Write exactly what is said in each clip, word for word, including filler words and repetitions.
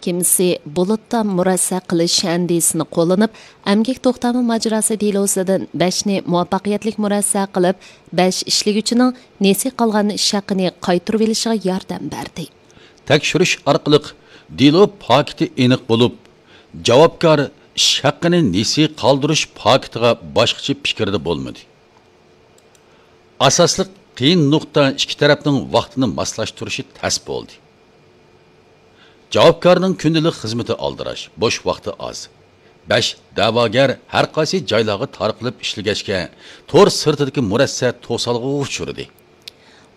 مەھكىمىسى بۇلۇتتا مۇرەسسە قىلىش ئەندىزىسىنى قوللىنىپ، ئەمگەك توختامى ماجىراسى دېلوسىدىن بەشنى مۇۋەپپەقىيەتلىك مۇرەسسە قىلىپ، بەش ئىشلىگۈچىنىڭ نېسى قالغان ئىش ھەققىنى قايتۇرۇۋېلىشىغا ياردەم بەردى. تەكشۈرۈش ئارقىلىق دېلو پاكىتى ئېنىق بولۇپ، جاۋابكار ئىش ھەققىنى نېسى قالدۇرۇش پاكىتىغا باشقىچە پىكىردە بولمىدى. ئاساسلىق قىيىن نۇقتا ئىككى تەرەپنىڭ ۋاقتىنى ماسلاشتۇرۇشى تەس بولدى. جاۋابكارنىڭ كۈندىلىك خىزمىتى ئالدىراش، بوش ۋاقتى ئاز. بەش دەۋاگەر ھەر قايسى جايلارغا تارقىلىپ ئىشلىگەچكە، تور سىرتىدىكى مۇرەسسە توسالغۇغا ئۇچرىدى.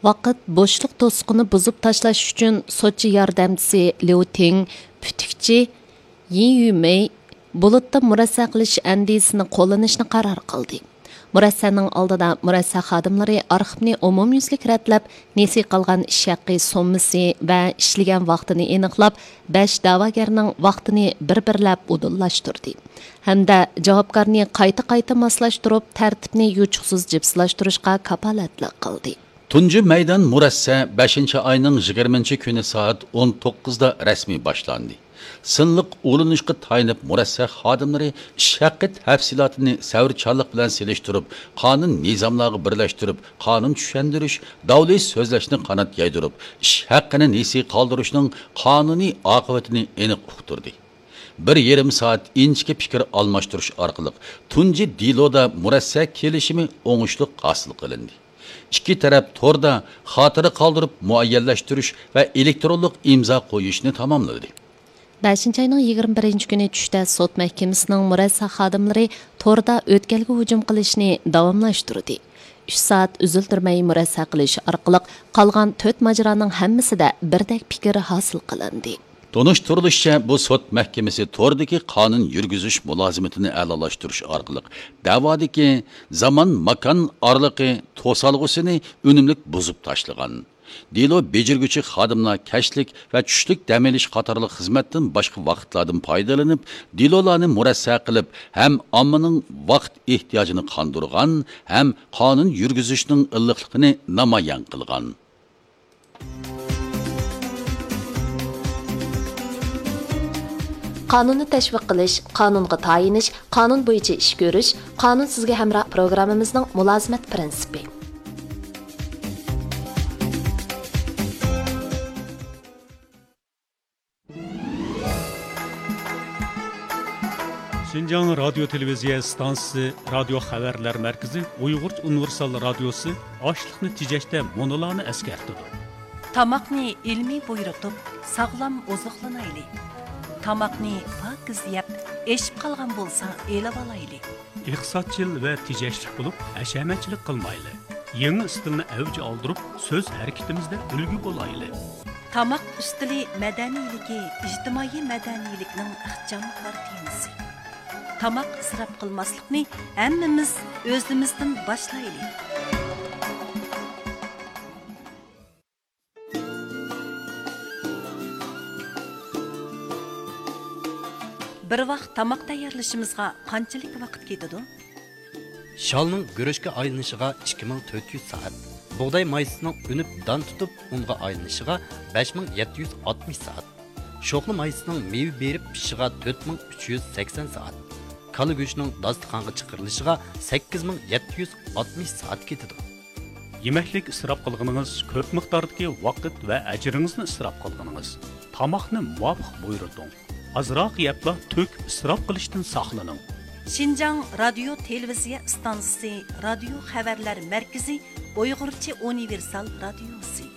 ۋاقىت بوشلۇق توسۇقىنى بۇزۇپ تاشلاش ئۈچۈن سوتچى ياردەمچىسى ليۇ تىڭ، پۈتۈكچى يى يۈمېي بۇلۇتتا مۇرەسسە قىلىش ئەندىزىسىنى قوللىنىشنى قارار قىلدى. مۇرەسسەنىڭ ئالدىدا مۇرەسسە خادىملىرى ئارخىپنى ئومۇميۈزلۈك رەتلەپ، نېسى قالغان ئىش ھەققى سوممىسى ۋە ئىشلىگەن ۋاقتىنى ئېنىقلاپ، بەش دەۋاگەرنىڭ ۋاقتىنى بىر-بىرلەپ ئۇدۇللاشتۇردى ھەمدە جاۋابكارنى قايتا-قايتا ماسلاشتۇرۇپ، تەرتىپنى يوچۇقسىز جىپسىلاشتۇرۇشقا كاپالەتلىك قىلدى. تۇنجى مەيدان مۇرەسسە بەشىنچى ئاينىڭ يىگىرمىنچى كۈنى سائەت ئون توققۇزدا رەسمىي باشلاندى. سىنلىق ئۇلىنىشقا تايىنىپ، مۇرەسسە خادىملىرى ئىش ھەققى تەپسىلاتىنى سەۋرچانلىق بىلەن سېلىشتۇرۇپ، قانۇن نىزاملارغا بىرلەشتۈرۈپ، قانۇن چۈشەندۈرۈش، داۋلى سۆزلەشنى قانات يايدۇرۇپ، ئىش ھەققىنى نېسى قالدۇرۇشنىڭ قانۇنىي ئاقىۋىتىنى ئېنىق ئۇقتۇردى. بىر يېرىم سائەت ئىنچىكە پىكىر ئالماشتۇرۇش ئارقىلىق تۇنجى دېلودا مۇرەسسە كېلىشىمى ئوڭۇشلۇق ھاسىل قىلىندى. ئىككى تەرەپ توردا خاتىرە قالدۇرۇپ مۇئەييەنلەشتۈرۈش ۋە ئېلېكترونلۇق ئىمزا قويۇشنى تاماملىدى. بەشىنچى ئاينىڭ يىگىرمە بىرىنچى كۈنى چۈشتە سوت مەھكىمىسىنىڭ مۇرەسسە خادىملىرى توردا ئۆتكەلگە ھۇجۇم قىلىشنى داۋاملاشتۇردى. ئۈچ سائەت ئۈزۈلدۈرمەي مۇرەسسە قىلىش ئارقىلىق قالغان تۆت ماجىرانىڭ ھەممىسىدە بىردەك پىكىر ھاسىل قىلىندى. تونۇشتۇرۇلۇشىچە، بۇ سوت مەھكىمىسى توردىكى قانۇن يۈرگۈزۈش مۇلازىمىتىنى ئەلالاشتۇرۇش ئارقىلىق دەۋادىكى زامان-ماكان ئارىلىقى توسالغۇسىنى ئۈنۈملۈك بۇزۇپ تاشلىغان. دېلو بېجىرگۈچى خادىملار كەچلىك ۋە چۈشلۈك دەم ئېلىش قاتارلىق خىزمەتتىن باشقا ۋاقىتلاردىن پايدىلىنىپ، دېلولارنى مۇرەسسە قىلىپ ھەم ئاممىنىڭ ۋاقىت ئېھتىياجىنى قاندۇرغان ھەم قانۇن يۈرگۈزۈشنىڭ ئىللىقلىقىنى نامايان قىلغان. قانۇننى تەشۋىق قىلىش، قانۇنغا تايىنىش، قانۇن بويىچە ئىش كۆرۈش، قانۇن سىزگە ھەمراھ پروگراممىمىزنىڭ مۇلازىمەت پىرىنسىپى. شىنجاڭ رادىيو تېلېۋىزىيە ئىستانسىسى رادىيو خەۋەرلەر مەركىزى ئۇيغۇرچە ئۇنىۋېرسال رادىيوسى ئاشلىقنى تېجەشتە مۇنۇلارنى ئەسكەرتىدۇ. تاماقنى ئىلمىي بۇيرۇتۇپ، ساغلام ئوزۇقلىنايلى. تاماقنى پاكىز يەپ، ئېشىپ قالغان بولسا ئېلىۋالايلى. ئىقتىسادچىل ۋە تېجەشلىك بولۇپ، ھەشەمەتچىلىك قىلمايلى. يېڭى ئىستىلنى ئەۋج ئالدۇرۇپ، سۆز ھەرىكىتىمىزدە ئۈلگە بولايلى. تاماق ئۈستىلى مەدەنىيلىكى ئىجتىمائىي مەدەنىيلىكنىڭ ئىخچام كارتىنىسى. تاماق ئىسراپ قىلماسلىقنى ھەممىمىز ئۆزىمىزدىن باشلايلى. بىر ۋاق تاماق تەييارلىشىمىزغا قانچىلىك ۋاقىت كېتىدۇ؟ شالنىڭ گۈرۈچكە ئايلىنىشىغا ئىككى مىڭ تۆت يۈز سائەت، بۇغداي مايسىسىنىڭ ئۈنۈپ دان تۇتۇپ ئۇنغا ئايلىنىشىغا بەش مىڭ يەتتە يۈز ئاتمىش سائەت، شوخلا مايسىسىنىڭ مېۋە بېرىپ پىشىشىغا تۆت مىڭ ئۈچ يۈز سەكسەن سائەت، كالا گۆشىنىڭ داستىخانغا چىقىرىلىشىغا سەككىز مىڭ يەتتە يۈز ئاتمىش سائەت كېتىدۇ. يېمەكلىك ئىسراپ قىلغىنىڭىز كۆپ مىقداردىكى ۋاقىت ۋە ئەجرىڭىزنى ئىسراپ قىلغىنىڭىز. تاماقنى مۇۋاپىق بۇيرۇتۇڭ. ئازراق يەپلا تۆكۈپ ئىسراپ قىلىشتىن ساقلىنىڭ. شىنجاڭ رادىيو تېلېۋىزىيە ئىستانسىسى رادىيو خەۋەرلەر مەركىزى ئۇيغۇرچە ئۇنىۋېرسال رادىيوسى.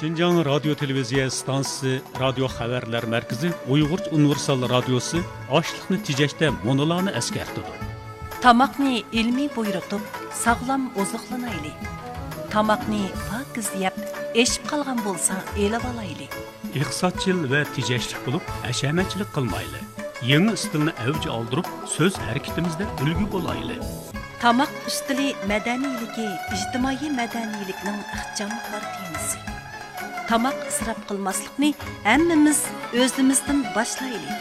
شىنجاڭ رادىيو تېلېۋىزىيە ئىستانسىسى رادىيو خەۋەرلەر مەركىزى ئۇيغۇرچە ئۇنىۋېرسال رادىيوسى ئاشلىقنى تېجەشتە مۇنۇلارنى ئەسكەرتىدۇ. تاماقنى ئىلمىي بۇيرۇتۇپ، ساغلام ئوزۇقلىنايلى. تاماقنى پاكىز يەپ، ئېشىپ قالغان بولسا ئېلىۋالايلى. ئىقتىسادچىل ۋە تېجەشلىك بولۇپ، ھەشەمەتچىلىك قىلمايلى. يېڭى ئىستىلنى ئەۋج ئالدۇرۇپ، سۆز ھەرىكىتىمىزدە ئۈلگە بولايلى. تاماق ئۈستىلى مەدەنىيلىكى ئىجتىمائىي مەدەنىيلىكنىڭ ئىخچام كارتىنىسى. تاماق ئىسراپ قىلماسلىقنى ھەممىمىز ئۆزىمىزدىن باشلايلى.